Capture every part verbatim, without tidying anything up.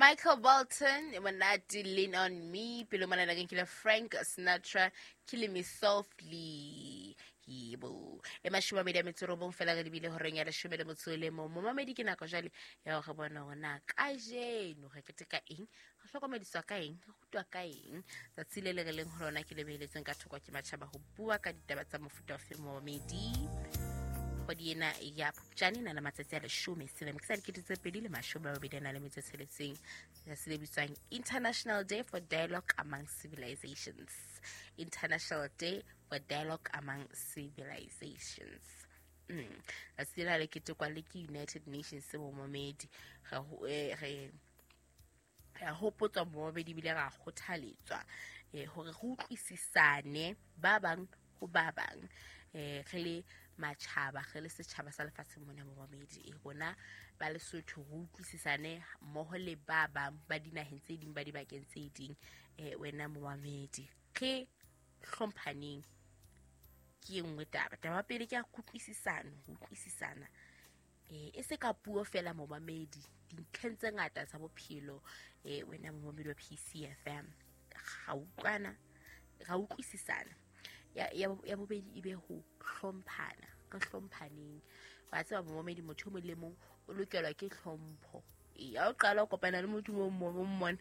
Michael Bolton, monate, Lean on Me. Pele mona na ke Frank Sinatra, Killing Me Softly. Yebo. E mashome a mabedi a metso e robong fela re lebile horeng ya leshome le motso o le mong. Momamedi ke nako jwale ya hore bona hore na kajeno re keteka eng, re hlokomediswa ka eng, re rutwa ka eng. Tsatsi le le re leng ho lona ke le beheletsweng ka thoko ke matjhaba ho bua ka ditaba tsa mofuta ofe momamedi. Kgwedi ena ya Phupjane e na le matsatsi a leshome selemo ke sa dikete tse pedi le mashome a mabedi a nang le metso e tsheletseng. Letsatsi le bitswang International Day for Dialogue Among Civilizations. International Day for Dialogue Among Civilizations. Mm. Letsatsi lena le ketekwa le ke United Nations momamedi. Re ho- eh, re re a hopotswa momamedi ebile ra kgothaletswa eh, hore re utlwisisane ba bang ho ba bang, eh, re le matjhaba, re le setjhaba sa lefatsheng mona momamedi. E rona ba Lesotho re utlwisisane mmoho le ba bang ba dinaheng tse ding, ba dibakeng tse ding. eh, wena momamedi, re hlomphaneng ke e nngwe taba. Taba ya pele ke ya kutlwisisano, ho utlwisisana eh e se ka puo fela momamedi, dintlheng tse ngata tsa bophelo. eh wena momamedi wa P C F M, ra utlwana, ra utlwisisana. Ya, ya, ya bobedi e be ho hlomphana, re hlomphaneng. Wa tseba momamedi, motho o mong le mong o lokelwa ke hlompho. Ee, ha o qala o kopana le motho o mong, o mmone,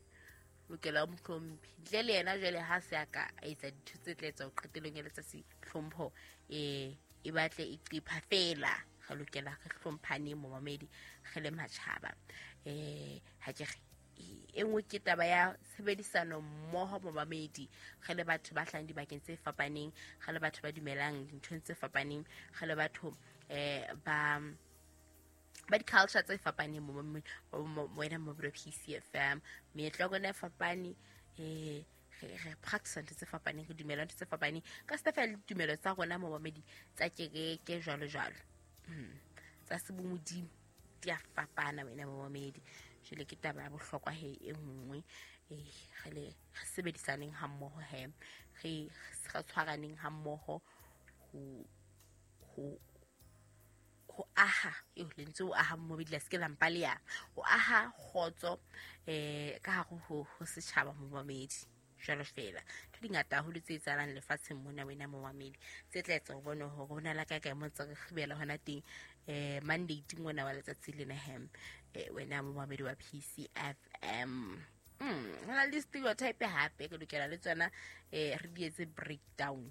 o lokela o mo hlomphe. Ntle le yena jwale ha se a ka a etsa dintho tse tla etsa ho qetellong ya letsatsi, hlompho, eh, e batle e qepha fela. Re lokela re hlomphaneng momamedi, re le matjhaba. Eh, ha ke re, e nngwe ke taba ya tshebedisano mmoho momamedi, re le batho ba hlahang dibakeng tse fapaneng, re le batho ba dumelang dinthong tse fapaneng, re le batho, eh, ba, ba di-culture tse fapaneng momamedi, wena momamedi wa P C F M. Meetlo ya rona e fapane, eh, re, re practice ntho tse fapaneng, re dumela ntho tse fapaneng ka se fela le ditumelo tsa rona momamedi tsa kereke jwalo jwalo. Hmm. Tsa sebomodimo di a fapana wena momamedi. Jwale ke taba ya bohlokwa he e nngwe, eh, re le, re sebedisaneng ha mmoho he, re, re tshwaraneng ha mmoho ho, ho, ho aha, eo lentswe ho aha momamedi la se ke la mpa le ya, ho aha kgotso, eh, ka hare ho, ho setjhaba momamedi. Jwalo fela ntho di ngata haholo tse etsahalang lefatsheng mona wena momamedi, tse tla etsa ho bone hore ho na le kae kae mo ntse re kgibela hona teng, eh, mandate ngwana wa letsatsi lena hem, eh, wena momamedi wa P C F M. Mm, ho na le stereotype hape re lokela le tsona, eh, re di etse breakdown,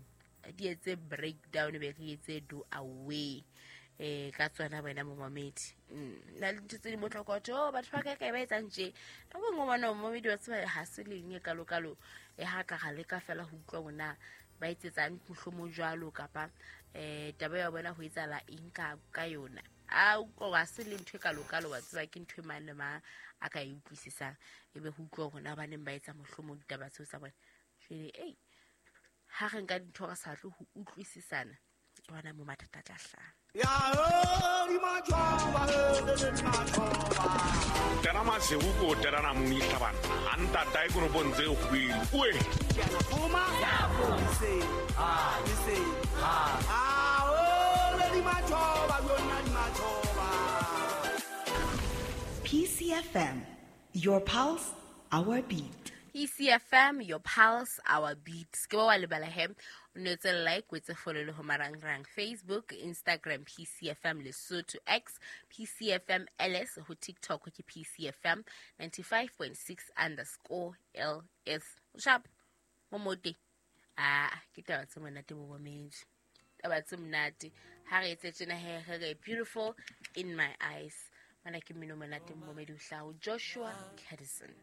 re di etse breakdown be re etse do away, eh, ka tsona wena momamedi. Mm, na le ntho tse di motlokotho, oh, batho ba kae kae ba etsang tje. Nako e nngwe ngwana momamedi wa tseba ha se leng e kalokalo, e ha ka ra leka fela ho utlwa hore na ba etsetsang mohlomong jwalo kapa, eh, taba ya bona ho etsahala eng ka, ka yona. A utlwa hore ha se le ntho e kalokalo, wa tseba ke ntho e mang le mang a ka e utlwisisang, ebe ho utlwa hore na baneng ba etsa mohlomong ditaba tseo tsa bona. Jwale, ei, ha re nka dintho re sa tle ho utlwisisana, ke hona moo mathata a tla hlaha. Ya ho di matjhoba, he di matjhoba. Tena masihu ko tena na muni hlabana. Anta tai ko no bontse o kwile. Uwe. Kuma. Se. Ah, se. Ah, oh, le di matjhoba, yona di matjhoba. P C F M, your pulse, our beat. P C F M, your pulse, our beat. Ke ba wa lebala he. O no etse like, o etse follow le ho marangrang Facebook, Instagram, P C F M Lesotho, X, P C F M L S, ho TikTok ke P C F M ninety-five point six underscore L S. Sharp, momote. Ah, ke taba tse monate bo momedi. Taba tse monate. Ha re etse tjena he, re re beautiful in my eyes. Mana ke mmino monate momedi o hlaho Joshua Kadison.